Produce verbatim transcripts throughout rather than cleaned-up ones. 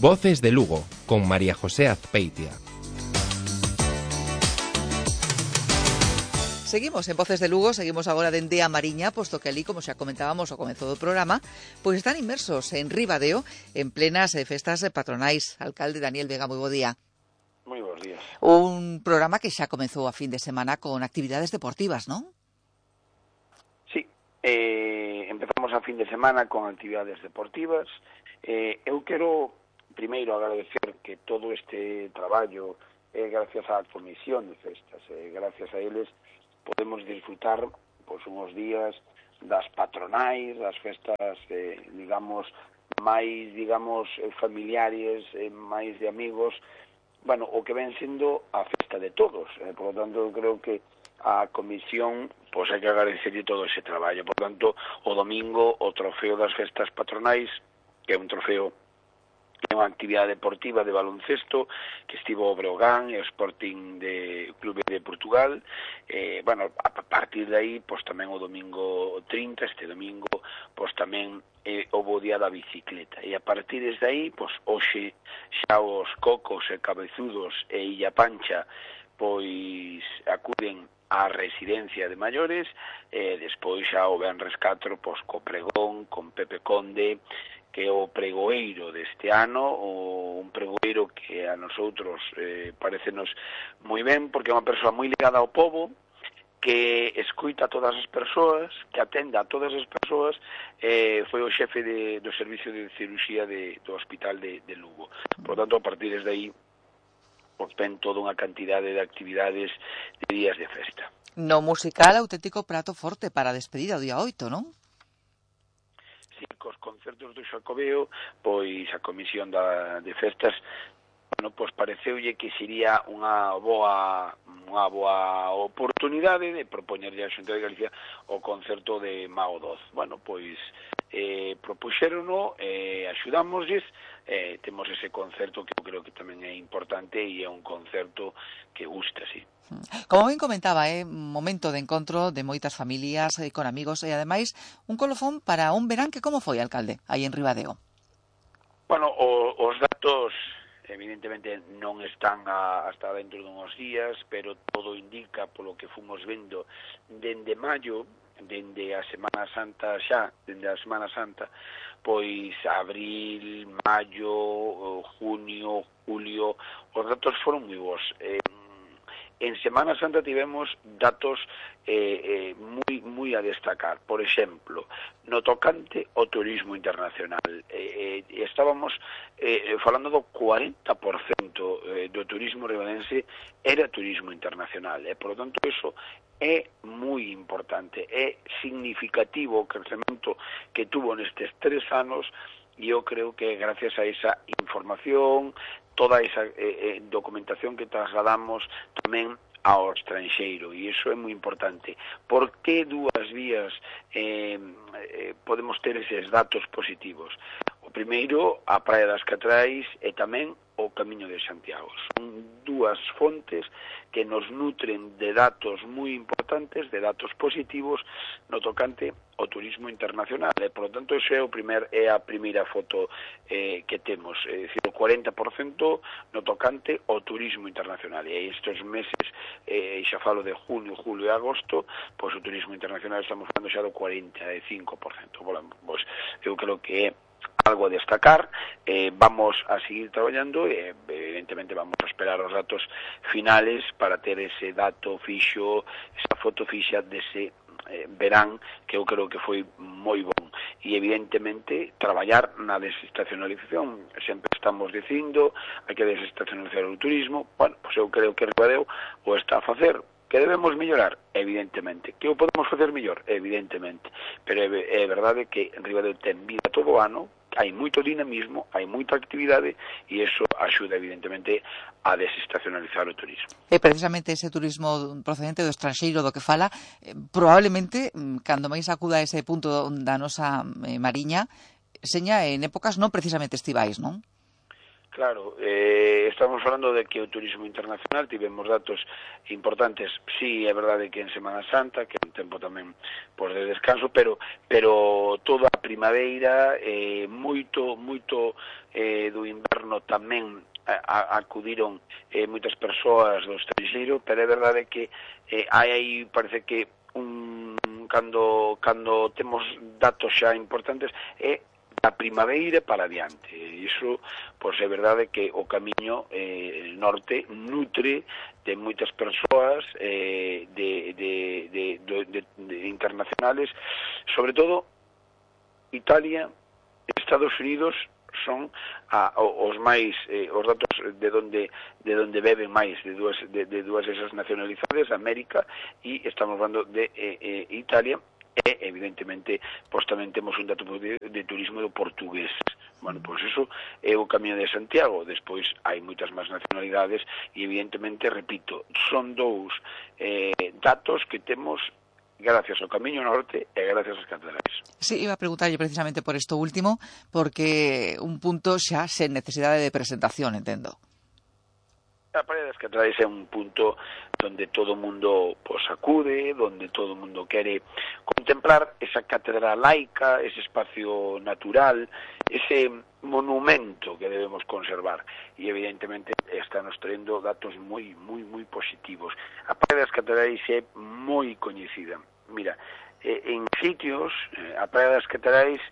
Voces de Lugo, con María José Azpeitia. Seguimos en Voces de Lugo, seguimos agora dende a Mariña, posto que ali, como xa comentábamos ao comezo do programa, pois están inmersos en Ribadeo, en plenas festas patronais. Alcalde Daniel Vega, moi bo día. Moi bons días. Un programa que xa comezou a fin de semana con actividades deportivas, non? Sí, eh, empezamos a fin de semana con actividades deportivas. Eh, eu quero primeiro agradecer que todo este traballo é eh, gracias á Comisión de Festas, eh, gracias a eles podemos disfrutar pois, uns días das patronais, das festas, eh, digamos, máis, digamos, familiares, eh, máis de amigos, bueno, o que ven sendo a festa de todos. Eh, por lo tanto, eu creo que a Comisión, pois hai que agradecerlle todo ese traballo. Por lo tanto, o domingo, o trofeo das festas patronais, que é un trofeo é unha actividade deportiva de baloncesto que estivo o Breogán e o Sporting de Clube de Portugal. Eh, bueno, a partir de aí, pois tamén o domingo trinta, este domingo, pois tamén eh, o bo día da bicicleta. E a partir de aí, pois hoxe xa os Cocos e Cabezudos e Illa Pancha pois acuden á residencia de maiores, e despois xa o venres catro, pois co pregón, con Pepe Conde, que é o pregoeiro deste ano, o un pregoeiro que a nosotros eh, parecenos moi ben, porque é unha persoa moi ligada ao povo, que escuita a todas as persoas, que atenda a todas as persoas, eh, foi o xefe de, do servicio de cirurxía de, do hospital de, de Lugo. Por tanto, a partir desde aí, pois ven toda unha cantidade de actividades de días de festa. No musical, auténtico prato forte para a despedida o día oito, non? Sí, cos concertos do Xacobeo, pois a Comisión da, de Festas, bueno, pois pareceulle que sería unha boa unha boa oportunidade de propoñerlle a Xunta de Galicia o concerto de Mao Doz. Bueno, pois eh, propuxérono, eh, axudámoslles, eh, temos ese concerto que eu creo que tamén é importante e é un concerto que gusta, sí. Como ben comentaba, é un momento de encontro de moitas familias eh, con amigos e, ademais, un colofón para un verán que como foi, alcalde, aí en Ribadeo? Bueno, o, os datos evidentemente non están a, hasta dentro de uns días, pero todo indica, polo que fomos vendo dende maio, dende a Semana Santa xa, dende a Semana Santa, pois abril, maio, junio, julio, os datos foron moi bons. Eh, En Semana Santa tivemos datos eh, eh, moi, moi a destacar. Por exemplo, no tocante ao turismo internacional. Eh, eh, estábamos eh, falando do cuarenta por cento eh, do turismo ribadense era turismo internacional. E, por lo tanto, eso é moi importante. É significativo o crecemento que tuvo nestes tres anos, e eu creo que gracias a esa información, toda esa eh, eh, documentación que trasladamos tamén ao estranxeiro, e iso é moi importante. Por que dúas vías eh, eh, podemos ter eses datos positivos? O primeiro, a Praia das Catrais, e tamén o Camiño de Santiago. Son dúas fontes que nos nutren de datos moi importantes, de datos positivos no tocante ao turismo internacional. E, por lo tanto, ese é, o primer, é a primeira foto eh, que temos. É dicir, o cuarenta por cento no tocante ao turismo internacional. E estes meses, eh, xa falo de junio, julio e agosto, pois o turismo internacional estamos falando xa do cuarenta e cinco por cento. Bueno, pois eu creo que é algo a destacar. Eh, vamos a seguir traballando e, evidentemente, vamos a esperar os datos finales para ter ese dato fixo, esa foto fixa dese eh, verán, que eu creo que foi moi bon. E, evidentemente, traballar na desestacionalización. Sempre estamos dicindo, hai que desestacionalizar o turismo. Bueno, pois eu creo que Ribadeo o está a facer. Que debemos mellorar? Evidentemente. Que o podemos facer mellor? Evidentemente. Pero é, é verdade que Ribadeo ten vida todo o ano, hai moito dinamismo, hai moita actividade, e iso axuda, evidentemente, a desestacionalizar o turismo. E precisamente ese turismo procedente do estranxeiro do que fala, eh, probablemente, cando máis acuda a ese punto da nosa eh, Mariña, seña en épocas non precisamente estivais, non? Claro, eh, estamos falando de que o turismo internacional tivemos datos importantes. Sí, é verdade que en Semana Santa, que é un tempo tamén por de descanso, pero pero toda a primavera, eh, moito moito eh, do inverno tamén a, a, acudiron eh, moitas persoas do estranxeiro, pero é verdade que eh, hai aí, parece que un cando cando temos datos xa importantes é da primavera para adiante. Iso, pois, é verdade que o camiño eh, norte nutre de moitas persoas eh, de, de, de, de, de, de internacionales, sobre todo Italia, Estados Unidos son a, os máis eh, os datos de donde de donde beben máis de dúas de, de dúas esas nacionalidades, América, e estamos falando de eh, eh, Italia. E, evidentemente, pois tamén temos un dato de, de turismo do portugués. Bueno, pois iso é o Camiño de Santiago. Despois hai moitas máis nacionalidades e, evidentemente, repito, son dous eh, datos que temos gracias ao Camiño Norte e gracias ás catedrais. Sí, iba a preguntarlle precisamente por isto último, porque un punto xa sen necesidade de presentación, entendo. A Praia das Catedrais é un punto donde todo o mundo pues, acude, donde todo o mundo quere contemplar esa catedral laica, ese espacio natural, ese monumento que debemos conservar. E, evidentemente, está nos traendo datos moi, moi, moi positivos. A Praia das Catedrais é moi coñecida. Mira, eh, en sitios, eh, a Praia das Catedrais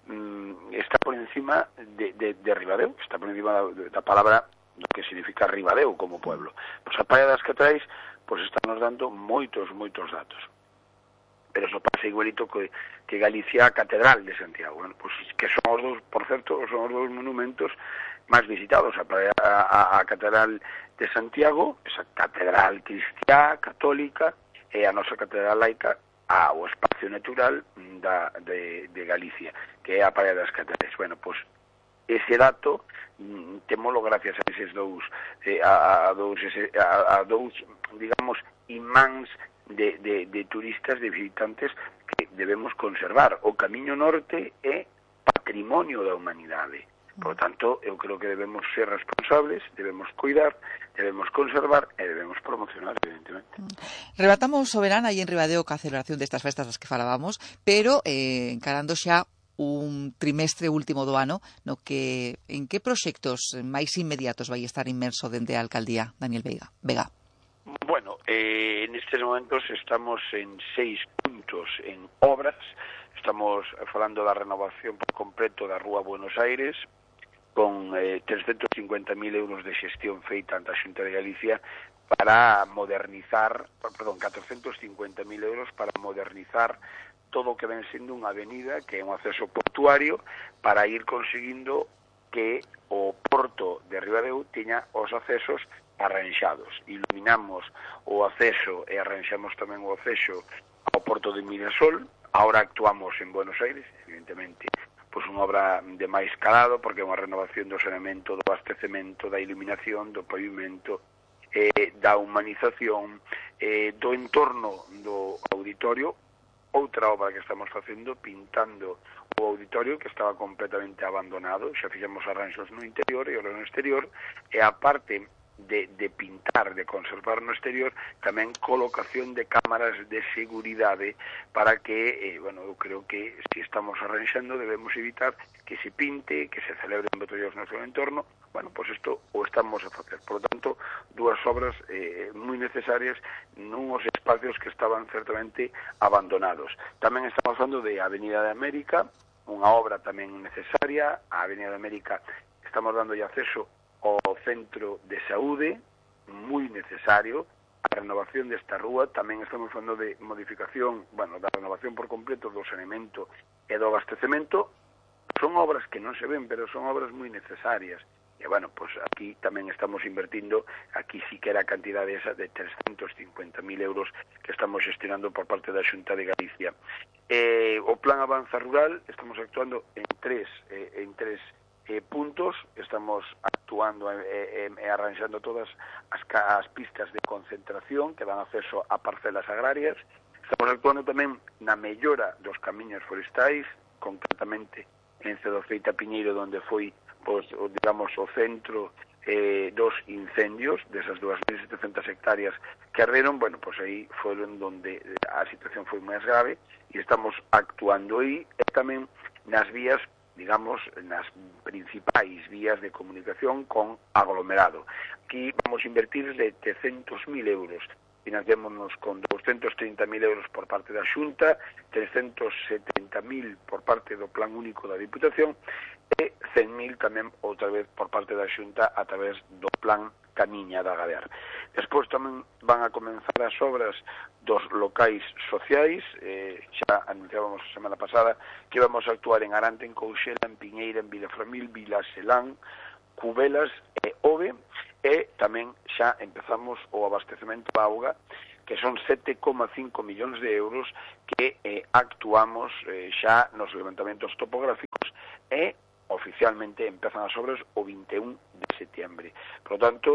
mm, está por encima de, de, de Ribadeo, está por encima da, da palabra do que significa Ribadeo como pueblo. Pois a Praia das Catedrais pois está nos dando moitos, moitos datos. Pero eso pasa igualito que, que Galicia a Catedral de Santiago. Bueno, pois que son os dos, por certo, son os dos monumentos máis visitados. A, praia, a, a Catedral de Santiago, esa catedral cristiá, católica, e a nosa catedral laica, ao espacio natural da, de, de Galicia, que é a Praia das Catedrais. Bueno, pois ese dato témolo gracias a eses dous eh, a, a dous ese, a, a dous digamos imáns de, de, de turistas, de visitantes que debemos conservar. O Camiño Norte é patrimonio da humanidade. Por tanto, eu creo que debemos ser responsables, debemos cuidar, debemos conservar e debemos promocionar, evidentemente. Rebatamos o verán aí en Ribadeo ca celebración destas festas das que falábamos, pero eh, encarando xa un trimestre último do ano, no que en que proxectos máis inmediatos vai estar inmerso dende a alcaldía, Daniel Veiga? Vega. Bueno, eh, en estes momentos estamos en seis puntos en obras. Estamos falando da renovación por completo da Rúa Buenos Aires, con eh, trescentos cincuenta mil euros de xestión feita ante a Xunta de Galicia para modernizar, perdón, catrocentos cincuenta mil euros para modernizar todo o que ven sendo unha avenida que é un acceso portuario para ir conseguindo que o porto de Ribadeo teña os accesos arranxados. Iluminamos o acceso e arranxamos tamén o acceso ao porto de Mirasol. Ahora actuamos en Buenos Aires, evidentemente, pois unha obra de máis calado, porque é unha renovación do saneamento, do abastecemento, da iluminación, do pavimento, eh, da humanización, eh, do entorno do auditorio. Outra obra que estamos facendo, pintando o auditorio que estaba completamente abandonado, xa fixemos arranxos no interior e no exterior, e a parte de, de pintar, de conservar no exterior, tamén colocación de cámaras de seguridade para que, eh, bueno, eu creo que se estamos arranxando debemos evitar que se pinte, que se celebren botellos no seu entorno. Bueno, pois pues isto o estamos a facer. Por lo tanto, dúas obras eh, moi necesarias nuns espacios que estaban certamente abandonados. Tamén estamos falando de Avenida de América, unha obra tamén necesaria. A Avenida de América estamos dando acceso ao centro de saúde, moi necesario. A renovación desta rúa, tamén estamos falando de modificación, bueno, da renovación por completo do saneamento e do abastecemento. Son obras que non se ven, pero son obras moi necesarias. E, bueno, pues aquí tamén estamos invertindo, aquí sí que era a cantidade esa de trescentos cincuenta mil euros que estamos gestionando por parte da Xunta de Galicia. Eh, o Plan Avanza Rural, estamos actuando en tres, eh, en tres eh, puntos, estamos actuando e eh, eh, arranxando todas as, as pistas de concentración que dan acceso a parcelas agrarias. Estamos actuando tamén na mellora dos camiños forestais, concretamente en Cedofeita Piñeiro, onde foi pois, digamos, o centro eh, dos incendios desas dúas mil setecentas hectáreas que arderon. Bueno, pois aí foron donde a situación foi máis grave e estamos actuando aí e tamén nas vías, digamos, nas principais vías de comunicación con aglomerado. Aquí vamos a invertir setecientos mil euros. Financiémonos con doscientos trinta mil euros por parte da Xunta, trescientos setenta mil por parte do Plan Único da Diputación e cen mil tamén outra vez por parte da Xunta a través do Plan Camiña da Gadear. Despois tamén van a comenzar as obras dos locais sociais. Eh, xa anunciábamos a semana pasada que vamos a actuar en Arante, en Couxela, en Piñeira, en Vilaframil, Vilaselán, Cubelas e Ove, e tamén xa empezamos o abastecemento de auga, que son sete coma cinco millóns de euros que eh, actuamos eh, xa nos levantamentos topográficos e oficialmente empezan as obras o vinte e un de setiembre. Por lo tanto,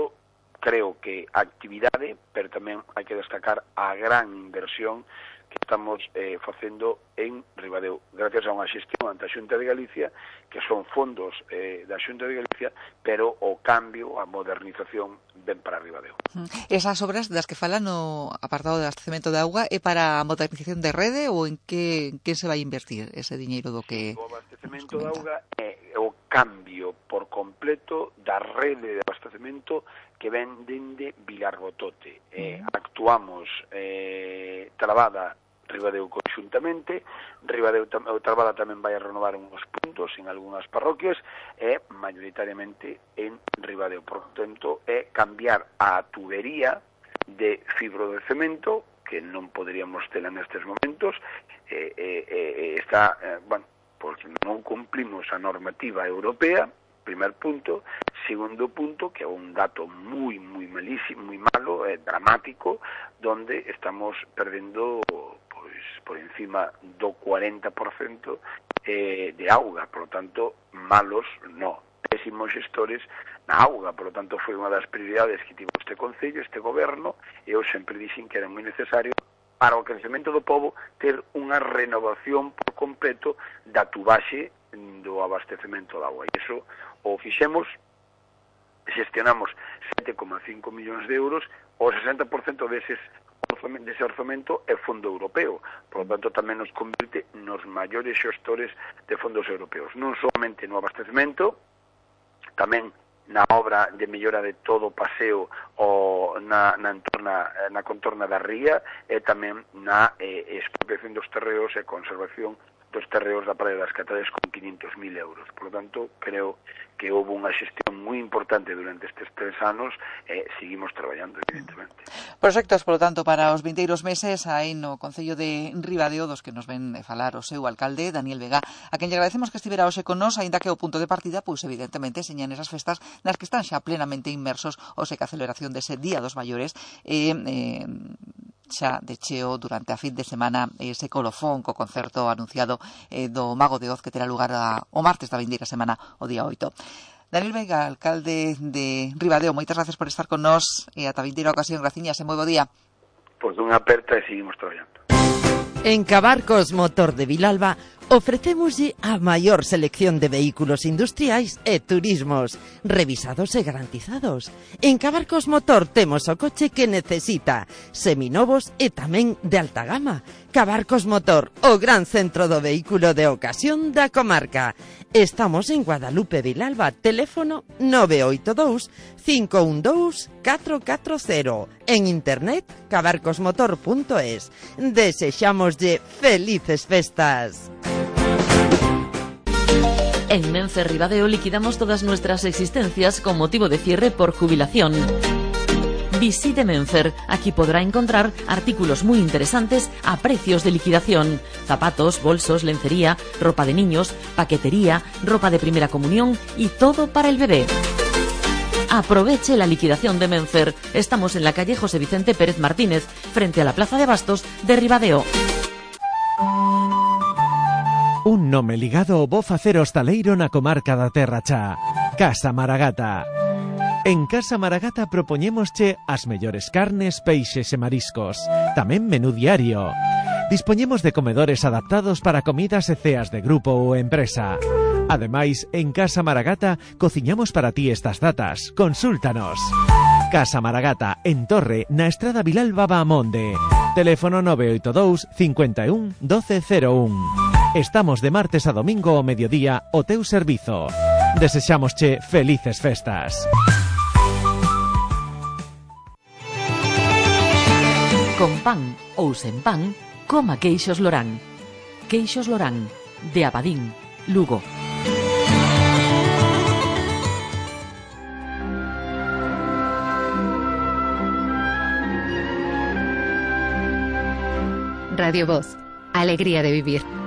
creo que a actividade, pero tamén hai que destacar a gran inversión que estamos eh, facendo en Ribadeo, gracias a unha xestión ante a Xunta de Galicia, que son fondos eh, da Xunta de Galicia, pero o cambio, a modernización, ven para Ribadeo. Esas obras das que falan no apartado de abastecemento de auga é para a modernización de rede ou en que, en que se vai invertir ese diñeiro do que... O abastecemento de auga é o cambio por completo da rede de abastecemento que ven dende Vilarbotote. Eh, actuamos eh, Trabada, Ribadeo conxuntamente. Ribadeo Trabada tamén vai a renovar uns puntos en algunhas parroquias e maioritariamente en Ribadeo. Por tanto, é cambiar a tubería de fibro de cemento, que non poderíamos tela nestes momentos. Eh, eh, eh, está, eh, bueno, pois non cumplimos a normativa europea, primer punto. Segundo punto, que é un dato moi, moi malísimo, moi malo, eh, dramático, donde estamos perdendo pois por encima do cuarenta por cento eh, de auga. Por lo tanto, malos no, pésimos xestores na auga. Por lo tanto, foi unha das prioridades que tivo este Concello, este Goberno, e eu sempre dixen que era moi necesario para o crecemento do pobo ter unha renovación por completo da tubaxe do abastecemento de auga. E iso o fixemos, xestionamos sete coma cinco millóns de euros, o sesenta por cento deses dese orzamento é fondo europeo. Por lo tanto, tamén nos convirte nos maiores xestores de fondos europeos, non solamente no abastecemento, tamén na obra de mellora de todo o paseo o na, na, entorna, na contorna da ría, e tamén na eh, expropiación dos terreos e conservación dos terreos da Praia das Catales con quinhentos mil euros. Por lo tanto, creo que houve unha xestión moi importante durante estes tres anos e seguimos traballando, evidentemente. Proxectos, por lo tanto, para os vindeiros meses aí no Concello de Ribadeo, dos que nos ven falar o seu alcalde, Daniel Vega, a quen lle agradecemos que estivera hoxe con nos, aínda que o punto de partida, pois evidentemente, señan esas festas nas que están xa plenamente inmersos o seca celebración dese Día dos Maiores e... Eh, xa de cheo durante a fin de semana ese colofón co concerto anunciado eh, do Mago de Oz que terá lugar a, o martes da vindeira semana, o día oito. Daniel Vega, alcalde de Ribadeo, moitas gracias por estar con nós e ata a vindeira ocasión. Graciñas e moi bo día. Pois dunha aperta e seguimos traballando. En Cabarcos Motor de Vilalba ofrecémoslle a maior selección de vehículos industriais e turismos, revisados e garantizados. En Cabarcos Motor temos o coche que necesita, seminovos e tamén de alta gama. Cabarcos Motor, o gran centro do vehículo de ocasión da comarca. Estamos en Guadalupe, Vilalba, teléfono nove oito dous, cinco un dous, catro catro cero. En internet, cabarcosmotor punto es. Desexámoslle felices festas. En Menfer Ribadeo liquidamos todas nuestras existencias con motivo de cierre por jubilación. Visite Menfer, aquí podrá encontrar artículos muy interesantes a precios de liquidación. Zapatos, bolsos, lencería, ropa de niños, paquetería, ropa de primera comunión y todo para el bebé. Aproveche la liquidación de Menfer. Estamos en la calle José Vicente Pérez Martínez, frente a la Plaza de Bastos de Ribadeo. Un nome ligado ao bo facer hostaleiro na comarca da Terra Cha. Casa Maragata. En Casa Maragata propoñémosche as mellores carnes, peixes e mariscos. Tamén menú diario. Dispoñemos de comedores adaptados para comidas e ceas de grupo ou empresa. Ademais, en Casa Maragata cociñamos para ti estas datas. Consúltanos. Casa Maragata, en Torre, na Estrada Vilalba Baamonde. Teléfono nove oito dous, cinco un, doce cero un. Estamos de martes a domingo ao mediodía o teu servizo. Desexámosche felices festas. Con pan ou sen pan, coma queixos Lorán. Queixos Lorán, de Abadín, Lugo. Radio Voz, alegría de vivir.